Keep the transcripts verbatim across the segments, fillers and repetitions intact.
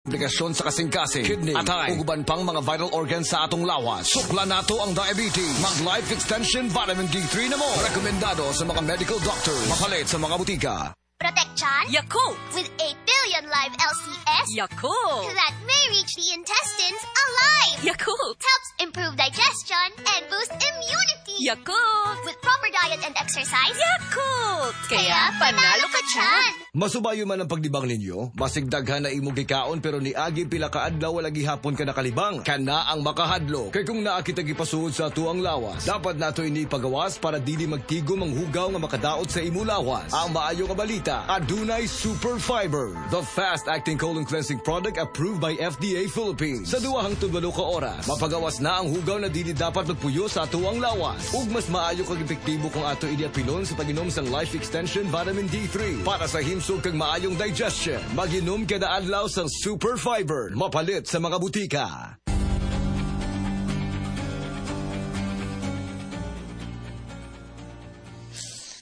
Komplikasyon sa kasing-kasing, kidney, atay, ug uban pang mga vital organs sa atong lawas. Sukla nato ang diabetes. Mag Life Extension Vitamin D three na mo. Rekomendado sa mga medical doctors. Mapalit sa mga butika. Protection? Yakult! With eight billion live L C S? Yakult! That may reach the intestines alive! Yakult! Helps improve digestion and boost immunity! Yakult! With proper diet and exercise? Yakult! Kaya panalo ka dyan! Masubayo man ang paglibang ninyo, basig daghan na imong gikaon pero niagi pila ka adlaw wala gihapon ka nakalibang. Kana ang makahadlo. Kay kung naa kita gipasuod sa atuang lawas, dapat nato ini pagawas para dili magtigom ang hugaw nga makadaot sa imong lawas. Ang maayo nga balita, adunay Super Fiber, the fast-acting colon cleansing product approved by F D A Philippines. Sa duha hangtod walo ka oras, mapagawas na ang hugaw na dili dapat magpuyo sa atuang lawas. Ug mas maayo kag epektibo kung ato ini apilon sa pag-inom sang Life Extension Vitamin D three para sa himsog kag maayong digestion. Maginom kada adlaw sang Super Fiber. Mapalit sa mga butika.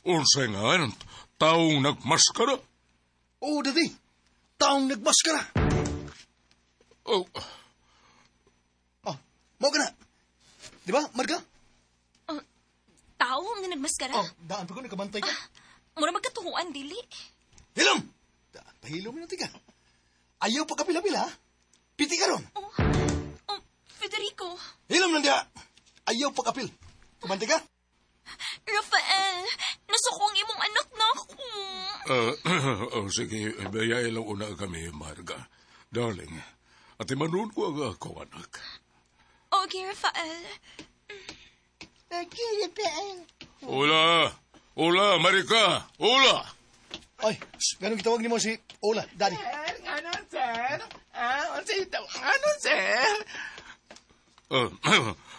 Unsay nga, taong nagmaskara? Oo, Daddy. Taong nagmaskara. Oh. Oh, mo ka na. Di ba, Marga? Uh, tao nga nagmaskara? Oh, daan pa ko, nakabantay ka. Ah, mura magkatuhuan, dili. Hilom! Pahilom na tika. Ayaw pa kapila-pila, ha? Piti ka ron. Oh, oh, Federico. Hilom lang diha. Ayaw pa kapil. Kabantay ka? Rafael, nasuko ang imong anak na ako. Uh, oh, sige, bayay lang una kami, Marga. Darling, at imanon ko ang akong anak. Okay, Rafael. Okay, Rafael. Hola! Hola, Marika! Hola! Ay, ganun kitawag ni mo si Ola, Daddy. Sir, ano, sir? Ah, ano, sir? Uh,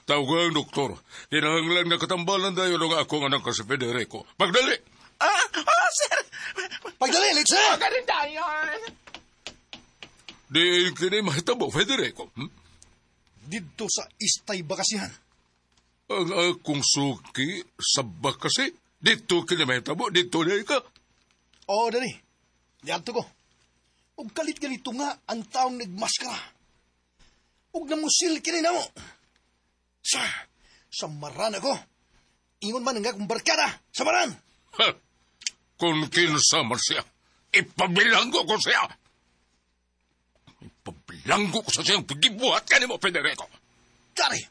tawag ang doktor. Kinahanglan nga katambalan tayo ng akong anak si Federico. Pagdali! Ah, oh, sir! Pagdali, let's sir! Pagdali tayo! Di kini mahitabo, Federico. Hmm? Dito sa Istay Bakasihan. Ang akong suki sa bakasi. Dito kini mahitabo, dito na ka. Oo, oh, Daddy. Diadto ko. Ug kalit-galito nga ang taong nagmaskara. Ug namusil kini namo. Sa, samaran ako. Ingon man ang akong barkada. Samaran! Ha, kung kinsa man siya, ipabilanggo ko siya. Ipabilanggo ko sa siyang pagibuhat ka ni mo, Federico. Daddy,